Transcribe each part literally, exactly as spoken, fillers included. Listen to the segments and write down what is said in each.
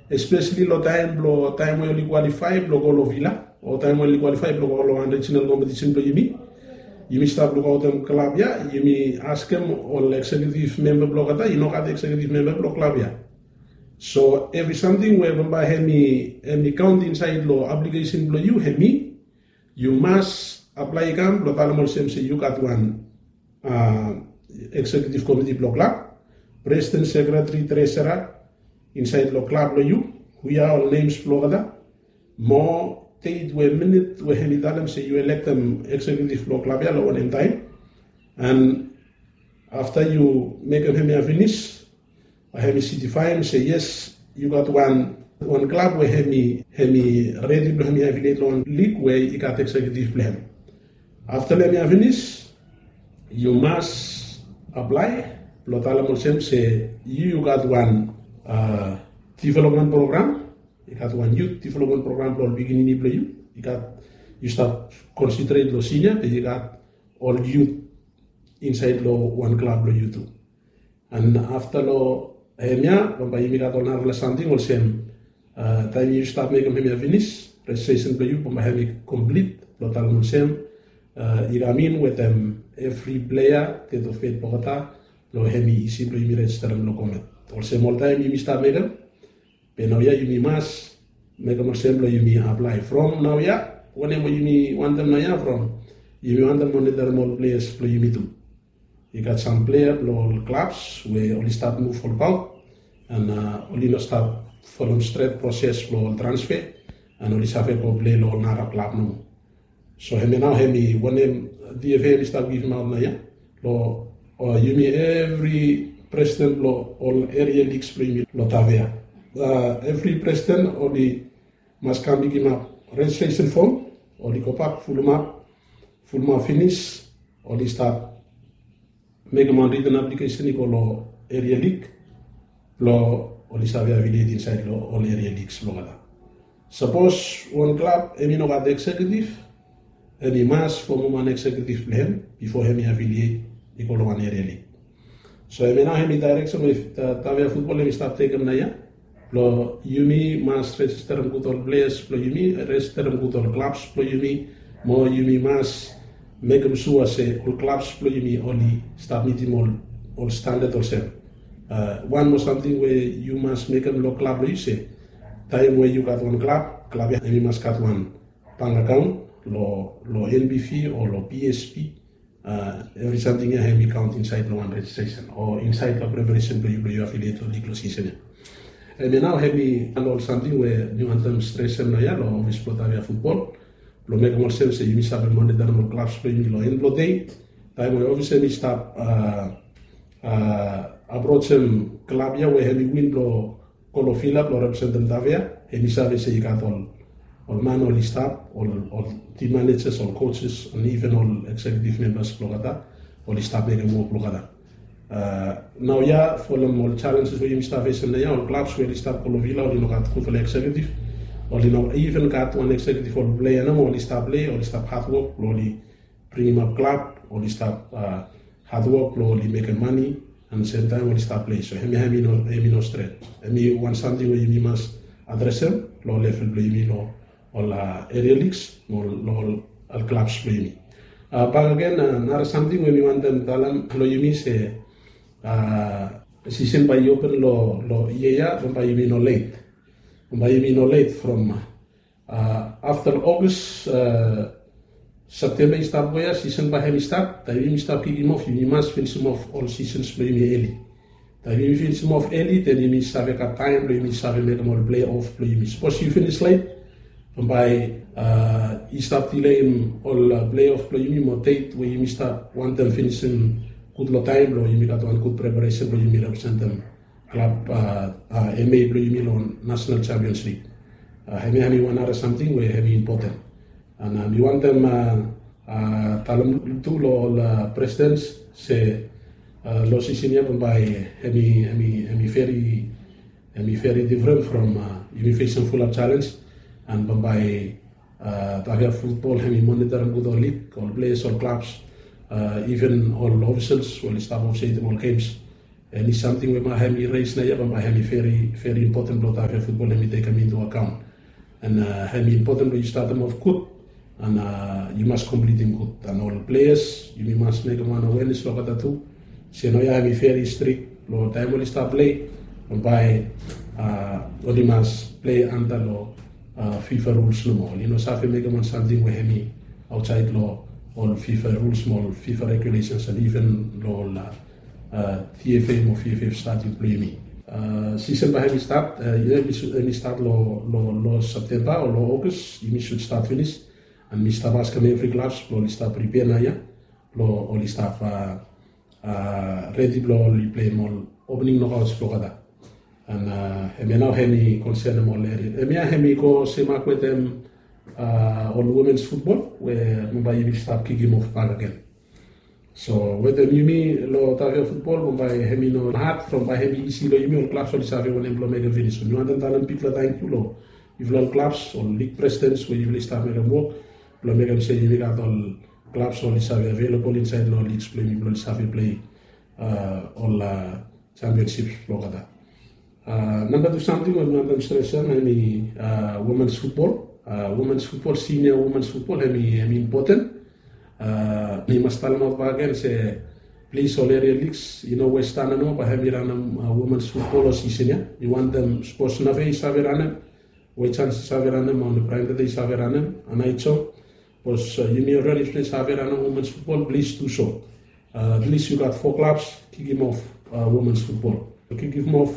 espeseli long taem blong taem we oli kwalifai blong go long vila o taem we oli kwalifai blong go long wan rijinal kompetisen blong yumi. Yumi stap lukaotem klab ya, yumi askem ol eksekiutiv memba blong olgeta i no gat eksekiutiv memba blong klab ya. So evri samting we bambae hem i kaont insaed long aplikesen blong yu hem i yu mas aplae i kam blong talem olsem se yu gat wan eksekiutiv komiti blong klab, presiden, sekreteri, tresera insaed long klab blong yu. Hu ya ol nems blong olgeta mo deit we minit we hem i talem se yu elektem eksekiutiv blong klab ya long wanem taem. An afta yu mekem hem ya finis, hem i sitifaem se yes, yu gat wan klab we hem i redi blong hem i afiliet long wan lig we i gat eksekiutiv blong hem. Afta long hem ya finis, yu mas aplae blong talem olsem se yu yu gat wan development program. I gat wan yut development program blong ol pikinini blong yu. I gat, yu stap konsentrate long sinia be i gat ol yut insaed long wan klab blong yu tu. An afta long hem ya bambae yumi gat ol narafala samting olsem taem yu stap mekem hem ya finis, rejistresen blong yu bambae hem i komplit blong talem olsem i kam in wetem evri plea, det of fate blong olgeta blong hem i isi blong yumi rejisterem long goment. Olsem oltaem yumi stap mekem, be naoia yumi mas mekem olsem blong yumi aplae from naoia. Wanem we yumi wantem naoia from, yumi wantem monitarim ol pleas blong yumi tu. I gat sam plea blong ol klabs we oli stap muv olbaot an oli no stap folem stret proses blong ol transfe an oli save go plei long ol nara klab nomo. So hemia nao hem i wanem D F A hem i stap givimaot naoia long yumi evri presiden blong ol eria ligs blong yumi long Tavea. Evri presiden oli mas kam pikimap rejistresen fom, oli gobak fulumap, fulumap finis, oli stap mekem wan riten aplikesen i go long eria lig blong oli save afiliet insaed long ol eria ligs blong olgeta. Sapos wan klab hem i no gat eksekiutiv, hem i mas fomem wan eksekiutiv blong hem bifo hem i afiliet i go long wan eria lig. So hemia nao hem i daereksen we Tavea Futbol hem i stap tekem naoia blong yumi mas rejisterem gud ol pleas blong yumi, rejisterem gud ol klabs blong yumi, mo yumi mas mekem sua se ol klabs blong yumi oli stap mitim ol standat olsem. Wan moa samting we yu mas mekem long klab blong yu se taem we yu gat wan klab, klab ya hem i mas gat wan bank akaon long N B V o long P S B. Evri samting ya hem i kaont insaed long wan rejistresen o insaed long preparesen blong yu blong yu afiliet long lig long sisen ya. Hemia nao hem i wan ol samting we mi wantem stresem naoia long ofis blong Tavea Futbol blong mekem olsem se yumi save monitarim ol klabs blong yumi long en blong dei. Taem we ofis hem i stap aprojem klab ya we hem i win blong go long vila blong representem Tavea, hem i save se i gat ol man oli stap, ol tim manejas, ol coaches, and even ol executive members blong olgeta oli stap mekem wok blong olgeta. Naoia folem ol challenges we yumi stap fesem naoia, ol klabs we oli stap go long vila oli no gat gudfala executive. Oli no even gat wan executive ol plea nomo oli stap plei, oli stap hadwok blong oli bringimap klab, oli stap hadwok blong oli mekem mane, and semtaem oli stap plei. So hemia hem i no stret. Hem i wan samting we yumi mas adresem long level blong yumi long ol eria ligs mo long ol klabs blong yumi. Bakegen nara samting we mi wantem talem long yumi se sisen bae i open long yia ya, bambae yumi no let. Bambae yumi no let from afta long August, Septemba i stap go ya, sisen bae hem i stat. Taem yumi stap kikim of, yumi mas finisim of ol sisens blong yumi eli. Taem yumi finisim of eli, den yumi save gat taem blong yumi save mekem ol plei of blong yumi. Sapos yu finis let, bambae i stap dileim ol plei of blong yumi mo deit we yumi stap wantem finisim gud long taem blong yumi gat wan gud preparesen blong yumi representem klab M A blong yumi long National Champions League. Hemia hem i wan nara samting we hem i impoten. And mi wantem talem tu long ol presidents se long sisen ya bambae hem i veri, hem i veri difren from yumi fesem fulap challenge. And bambae Tavea Futbol hem i monitorim gud ol lig, ol players, ol klabs, even ol ofisals we oli stap ofisietim ol games. Eni samting we bae hemi res naoia, bae hemi veri, veri impoten blong Tafea futbol hemi tekem into akaon. And hemi impoten blong yu statem of gud, and yu mas komplitim gud. And ol pleas, yumi mas mekem wan awenes long olgeta tu. Se naoia hemi veri strik, long taem oli stap plei, bae oli mas plei anta long fifa ruls nomo. Oli no save mekem wan samting we hemi aotsaed long ol fifa ruls mo ol fifa regulesens, and iven long ol tifa mo fifa stadium blong yumi. Sisen bae hemi stat, hemi stat long Septemba o long Ogas, yumi sud stat finis. And mi stap askem evri klabs blong oli stap pripea naoia blong oli stap redi blong oli pleim ol opening nokaots blong olgeta. And hemia nao hemi konsenem ol eria. Hemia hemi go semak wetem ol womens futbol we bambae yumi stap kikim of bakegen. So wetem yumi long Tafea futbol, bambae hemi no had from bae hemi isi long yumi. Ol klabs oli save wanem blong mekem finis. So mi wantem talem bigfala tangkiu long yufala ol klabs, ol lig presidents we yufala i stap mekem wok blong mekem se yumi gat ol klabs oli save avelabol insaed long ligs blong yumi blong oli save plei ol championships blong olgeta. Namba tu samting we mi wantem stresem hemi womens futbol. Womens futbol, sinia womens futbol, hemi impoten. Mi mas talemaot bakegen se plis ol eria ligs, i no Westana nomo bae hemi ranem womens futbol long sisen ya. Mi wantem sapos Nafea i save ranem, Wetjans i save ranem, o Praemtata i save ranem, Anaitso. Sapos yumi olredi i save ranem womens futbol, plis du so. At least yu gat fo klabs kikim of womens futbol. Kikim of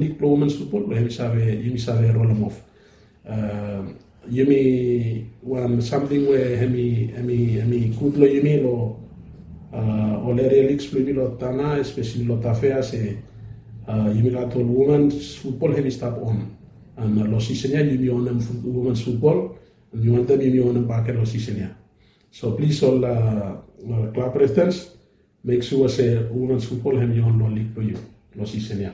lig blong womens futbol, we yumi save, yumi save rolem of. Yumi, wan samting we hemi, hemi, hemi gud long yumi long ol eria ligs blong yumi long Tana, espeseli long Tafea, se yumi gat ol womens futbol hemi stap on. And long sisen ya yumi onem womens futbol, and mi wantem yumi onem bakegen long sisen ya. So plis ol klab presidents, mek sua se womens futbol hemi on long lig blong yu long sisen ya.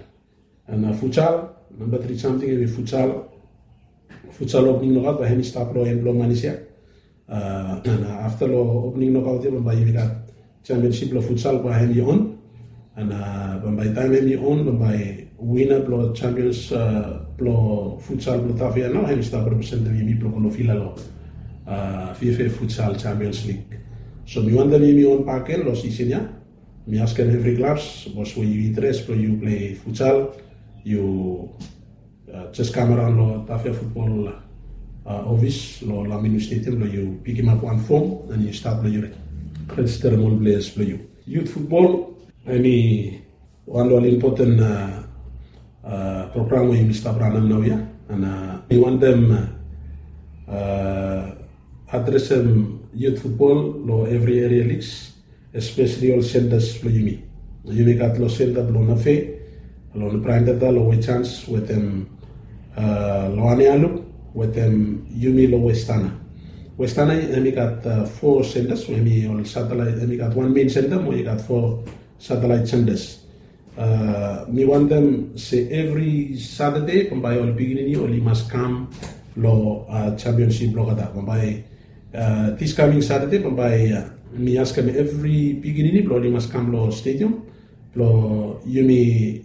And futsal, namba tri samting hemi futsal. Futsal opening nokaot bae hemi stap long en blong manis ya. And afta long opening nokaot ya, bambae yumi gat championship blong futsal bae hemi on. And bambae taem hemi on, bambae wina blong champions blong futsal blong Tafea nao hemi stap representem yumi blong go long vila long fifa futsal Champions League. So mi wantem yumi on bakegen long sisen ya. Mi askem evri klabs, sapos we yu interes blong yu plei futsal, yu jes kam araon long Tafea futbol ofis long Laminu Stadium blong yu pikimap wan fom, and yu stat blong yu rejisterem ol pleas blong yu. Yut futbol hemi wan long ol impoten program we yumi stap ranem naoia. And mi wantem adresem yut futbol long evri eria ligs, espeseli ol sentas blong yumi. Yumi gat long senta blong Nafea, long Praemtata, long Wetjans, wetem long Anialu, wetem yumi long Westana. Westana hemi gat fo sentas, hemi ol satelaet, hemi gat wan mein senta mo i gat fo satelaet sentas. Mi wantem se evri Satade bambae ol pikinini oli mas kam long championship blong olgeta. Bambae dis kaming Satade, bambae mi askem evri pikinini blong oli mas kam long stadium blong yumi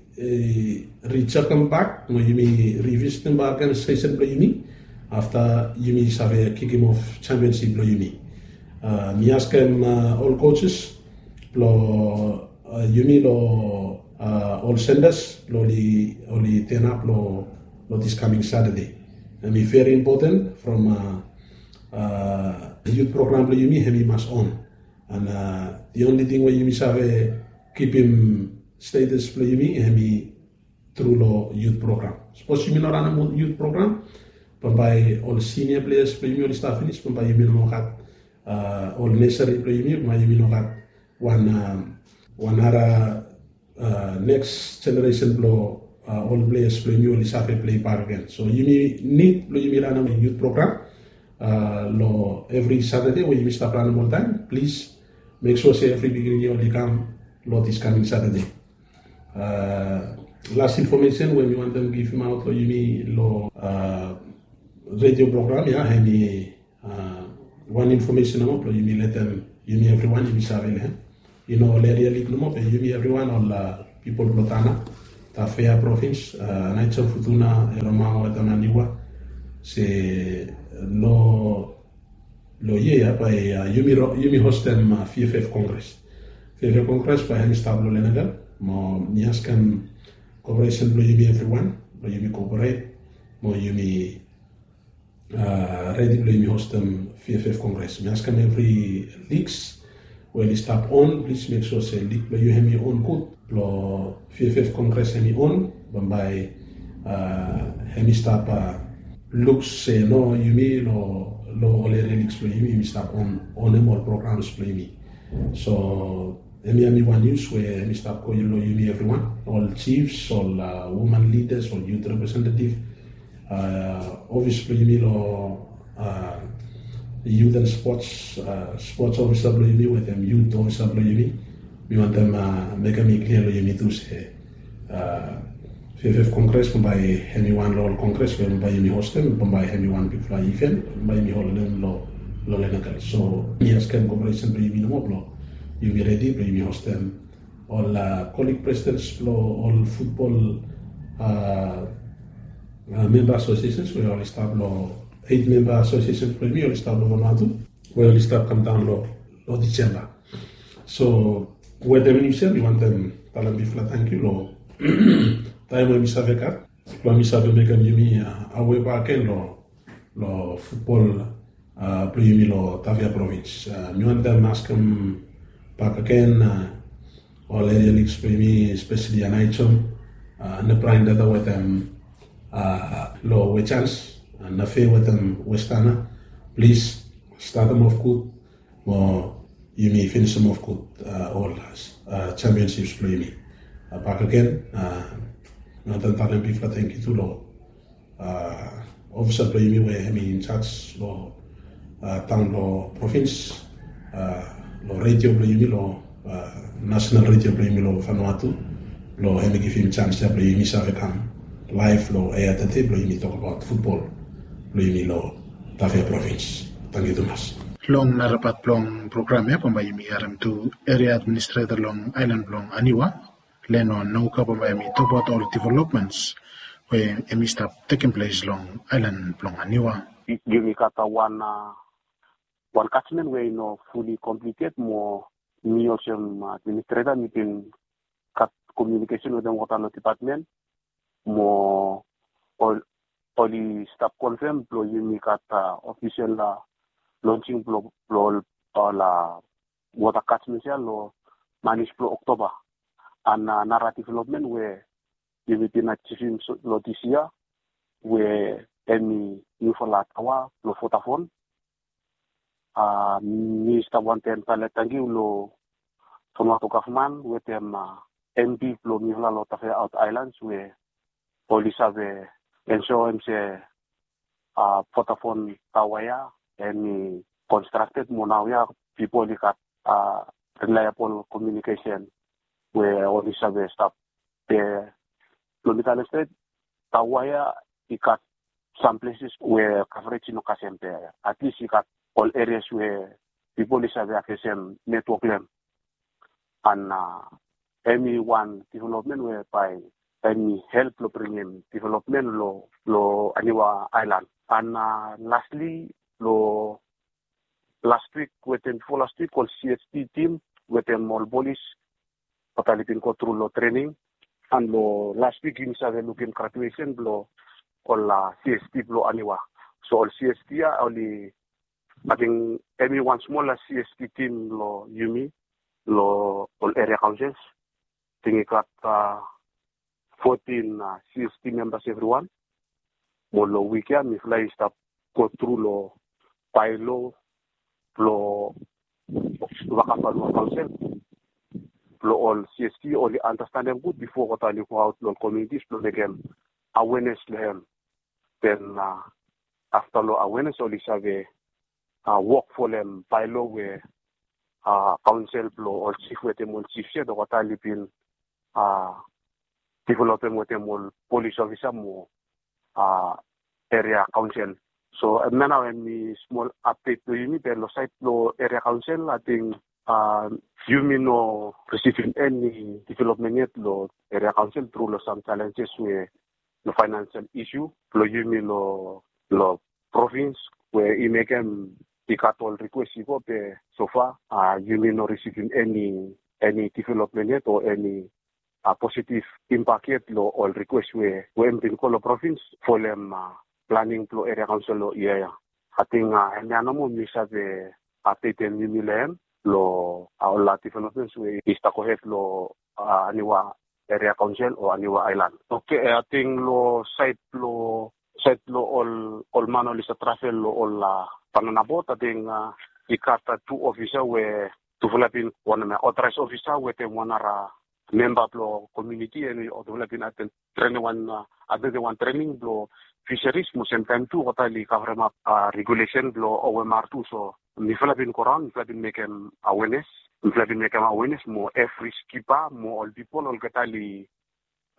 rijekem bak mo yumi revisitem bakegen sesen blong yumi afta yumi save kikim of championship blong yumi. Mi askem ol coaches blong yumi long ol sentas blong oli, oli tenap long, long dis kaming Satade. Hemi veri impoten from yut program blong yumi hemi mas on. And the only ting we yumi save kipim status blong yumi hemi tru long yut program. Sapos yumi no ranem yut program, bambae ol sinia pleas blong yumi oli stap finis, bambae yumi no gat ol nesari blong yumi, bambae yumi no gat wan, wan nara neks jeneresen blong ol pleas blong yumi oli save plei bakegen. So yumi nid blong yumi ranem yut program long evri Satade we yumi stap ranem oltaem. Plis mek sua se evri pikinini oli kam long dis kaming Satade. Las infomesen we mi wantem givimaot long yumi long redio program ya, hemi wan infomesen nomo blong yumi letem yumi evriwan yumi save long hem. I no ol eria lig nomo be yumi evriwan ol pipol blong Tana, Tafea provins, Naica, Futuna, Eromao wetem Aniwa, se long long yia ya bae yumi hostem VFF kongres. VFF kongres bae hem i stap long Lenakel. Mo mi askem koperesen blong yumi evriwan blong yumi koperate mo yumi redi blong yumi hostem VFF kongres. Mi askem evri liks we oli stap on, plis mek sua se lik blong yu hem i on gud blong VFF kongres hem i on. Bambae hem i stap luk se no, yumi long ol eria liks blong yumi yumi stap on onem ol programs blong yumi. So hem ya hem i wan nius we hem i stap go long yumi evriwan, ol chiefs, ol woman leaders, ol youth representative, ofis blong yumi long youth and sports, sports ofisa blong yumi wetem youth ofisa blong yumi. Mi wantem mekem i klia long yumi tu se VFF kongres bambae hem i wan long ol kongres we bambae yumi hostem, bambae hem i wan bigfala iven bambae yumi holdem long Lenakel. So mi askem koperesen blong yumi nomo blong yumi redi blong yumi hostem ol kolig presidents blong ol futbol memba asosiesens we oli stap long eit memba asosiesens blong yumi oli stap long Vanuatu we oli stap kamdaon long Disemba. So wetem nius ya mi wantem talem bigfala tangkiu long taem we mi save gat blong mi save mekem yumi awe bakegen long futbol blong yumi long Tafea provins. Mi wantem askem bakegen ol eria liks blong yumi, espeseli Anaheim, Nebrain Data wetem long Wetans, Nafe wetem Westana, plis statem of gud mo yumi finisim of gud ol championsips blong yumi. Bakegen mi wantem talem bigfala tangkiu tu long ofisa blong yumi we hem i injaj long taon blong provins, long redio blong yumi, long nasenal redio blong yumi long Vanuatu, blong hem i givim jans ya blong yumi save kam laef long ea tede blong yumi tokbaot futbol blong yumi long Tafea provins. Tangkiu tumas. Long narapat blong program ya bambae yumi harem tu eria administreta long aelan blong Aniwa, Leno Nauka bambae hem i tokbaot ol developmens we hem i stap tekem ples long aelan blong Aniwa. Yumi gat wan wan kajmen we i no fuli komplited mo mi olsem administreta mi bin gat komiunikesen wetem olgeta long depatmen mo oli stap konfem blong yumi gat ofisel lonsing blong ol wota kajmen ya long manis blong Oktoba. An nara developmen we yumi bin ajivim long dis yia we hem i niufala taoa blong Vodafone. Mi stap wantem talem tangkiu long Vanuatu gavman wetem MP blong mifala long Tafea Aot Aelans we oli save ensoem se Vodafone taoa ya hem i konstrakted mo naoia pipol i gat reliabol komiunikesen we oli save stap. Be blong mi talem stret, taoa ya i gat sam pleses we kavrej i no kasem, be atlis i gat ol erias we pipol i save aksesem netwok long hem. An hem i wan developmen we bae hem i help long bringim developmen long Aniwa aelan. An lastli, long last wik wetem bifo last wik ol CST tim wetem ol polis oli bin go tru long trening. An long last wik yumi save lukim graduesen blong ol CST blong Aniwa. So ol CST ya oli, ating hem i wan smol CST tim long yumi long ol eria kaonsels. Ating i gat fotin CST membas evriwan. Mo long wik ya mifala i stap go tru long baelo blong Vakarua Kaonsel blong ol CST oli andastanem gud bifo oli go aot long ol komunitis blong mekem awenes long hem. Den afta long awenes oli save wok folem baelo we kaonsel blong ol jif wetem ol jif ya oli bin developem wetem ol polis ofisa mo eria kaonsel. So hemia nao hemi smol apdet blong yumi, be long saed blong eria kaonsel ating a, yumi no risivim eni development yet lo eria kaonsel tru lo sam challenges we lo financial issue blo yumi lo, lo provins we i mekem i gat ol request i go be so far, a, yumi no risivim eni, eni development yet o eni, a, positive impact yet lo ol request we, we hem bin go lo provins folem, a, planning blo eria kaonsel lo yia ya. Ating, a, hemia nomo mi save updatem yumi lo hem lo, a, ol, a, developments we i stap gohed lo, a, Aniwa eria kaonsel o Aniwa aelan. Oke, ating lo saed blo, saed blo ol, ol man oli save travel lo ol, a, banana boat, ating, a, i gat, a, tu ofisa we tufala bin, wan hemia authorized ofisa wetem wan nara memba blo komuniti, hemi tufala bin aten trening wan, a, aten wan trening blo fisheries mo semtaem tu olgeta oli kavremap, a, regulation blo O M R tu. So mifala bin goraon, mifala bin mekem awareness, mifala bin mekem awareness mo evri skipa mo ol pipol olgeta oli,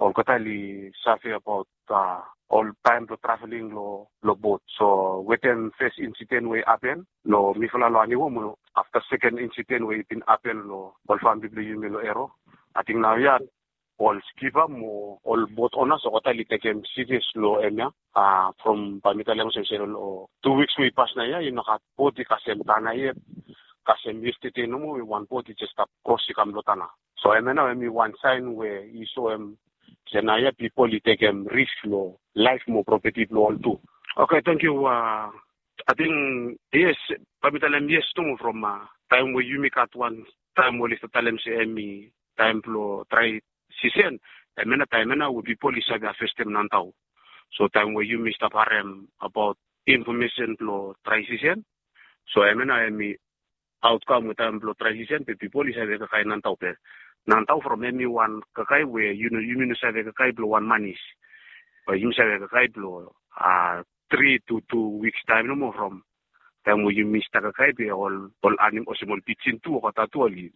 olgeta oli save abaot, a, ol taem blo traveling lo, lo boat. So wetem fes insiden we i hapen lo mifala lo Aniwa mo afta seken insiden we i bin hapen lo ol famili blo yumi lo Ero, ating naoia ol skipa mo ol boat owners olgeta oli tekem serious lo hemia. A, from bae mi talem olsem se lo tu wiks we i pas naoia i no gat boat i kasem tana yet, kasem yestede nomo we wan boat i jes stap kros i kam lo tana. So hemia nao hemi wan saen we i soem se naoia pipol i tekem risk lo laef mo propeti blo ol tu. Oke, tangkiu. A, ating yes, bae mi talem yes nomo from, a, taem we yumi gat wan taem we oli stap talem se hemi taem blo drae sisen, hemia nao taem ia nao we pipol i save havestem nantao. So taem we yumi stap harem abaot infomesen blo drae sisen, so hemia nao hemi aotkam we taem blo drae sisen be pipol i save kakae nantao be nantao from hemi wan kakae we yu no, yumi no save kakae blo wan manis. Be yumi save kakae blo, a, tri tu tu wiks taem nomo from taem we yumi stap kakae be ol, ol anim-, olsem ol pijin tu olgeta tu oli,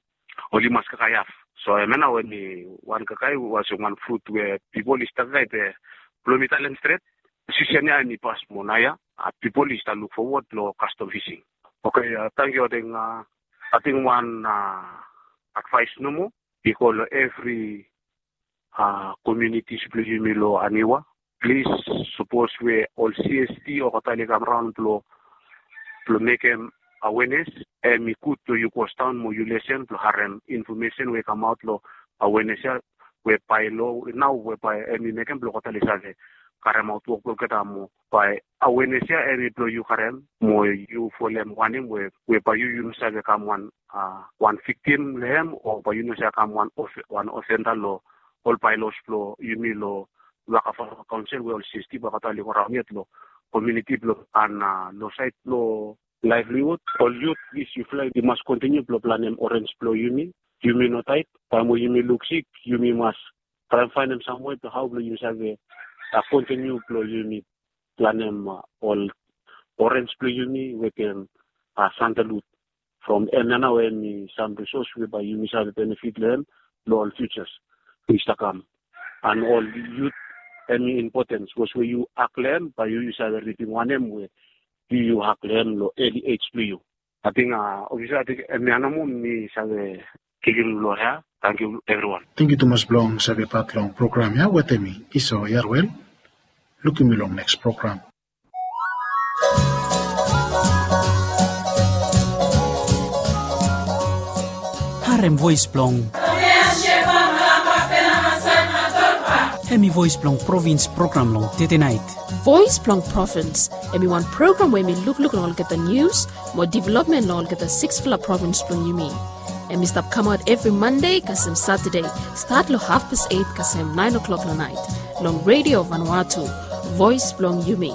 oli mas kakae haf. So hemia nao hemi wan kakae we olsem wan frut we pipol i stap kakae be blo mi talem stret, sisen ia hemi pas mo naoia, a, pipol i stap luk fowod lo kastom fising. Oke, a, tangkiu. Ating, a, ating wan, a, advaes nomo i go lo evri, a, komunitis blo yumi lo Aniwa. Plis, sapos we ol C S T olgeta oli kam raon blo, blo mekem awareness, hemi gud blo yu kosdaon mo yu lesen blo harem infomesen we i kamaot lo awareness ia, we bae lo nao we bae hemi mekem blo olgeta oli save karemaot wok blo olgeta mo bae awareness ia hemi blo yu karem mo yu folem wanem we, we bae yu, yu no save kam wan, a, wan viktim lo hem o bae yu no save kam wan of-, wan ofenda lo ol baelaos blo yumi lo waka farmers kaonsel we ol C S T bae olgeta oli go raon yet lo komuniti blo, an, a, lo saed blo laevliwud, ol yut, plis yufala i mas kontiniu blo planem orenj blo yumi. Yumi no taet, taem we yumi luksik yumi mas traem faenem sam wei blo hao blo yumi save, a, kontiniu blo yumi planem, a, ol orenj blo yumi wetem, a, sandalwud. From hemia nao hemi sam risos we bae yumi save benefit lo hem lo ol fiujas we i stap kam. An ol yut, hemi impoten sapos we yu hak lo hem bae yu, yu save ripim wanem we yu, yu hak lo hem lo eli ej blo yu. Ating, a, ofisa, ating hemia nomo mi save givim lo hia. Tangkiu evriwan. Tangkiu tumas blong savepat long program ia wetem mi, Iso Yarwel. Lukim yu long neks program. Harem voes blong. Hemi voes blong provins program long tedenaet. Voes blong Provins, hemi wan program we hemi lukluk long olgeta nius mo developmen long olgeta siksfala provins blong yumi. Hemi stap kamaot evri Mande kasem Satade, stat long hafpas eit kasem naen oklok long naet, long Redio Vanuatu, voes blong yumi.